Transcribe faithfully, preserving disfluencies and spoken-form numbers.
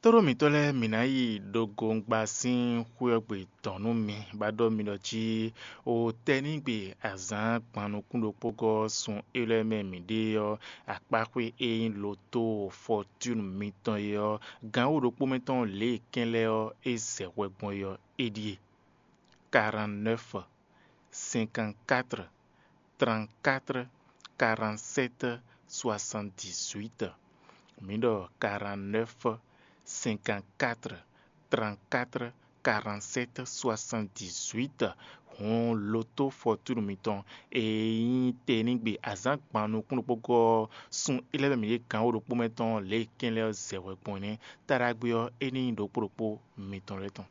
Tóɖó mǐtɔn lɛ́ɛ, mǐ ná yi ɖo gongba sín xwé ɔ́ gbe dɔn nú mi, bá ɖɔ mi ɖɔ jí o tɛ́nígbe azǎn gban nukún ɖokpó gɔ́ sun élɔ́ mɛ mǐ ɖe ɔ́, akpáxwé e nyí loto fɔtúnu mitɔn é ɔ́, gǎn wǒ ɖokpó mɛ tɔn lě e kɛn lɛ́ɛ ɔ́ é zɛ hwɛ gbɔn é ɔ́, é ɖíe: quarante-neuf, cinquante-quatre, trente-quatre, quarante-sept, soixante-dix-huit. Mǐ ɖɔ quarante-neuf, cinquante-quatre, trente-quatre, quarante-sept, soixante-dix-huit. Hǔn loto fɔtúnu mitɔn e nyí tɛnígbe azǎn gban nukún ɖokpó gɔ́ ɔ́, sun élɔ́ mɛ mǐ ɖe gǎn wǒ ɖokpó mɛ tɔn lě e kɛn lɛ́ɛ ɔ́ zɛ hwɛ gbɔn é nɛ́. Taɖagbe ɔ́, é ní nyí ɖokpó ɖokpó mitɔn lɛ́ɛ tɔn.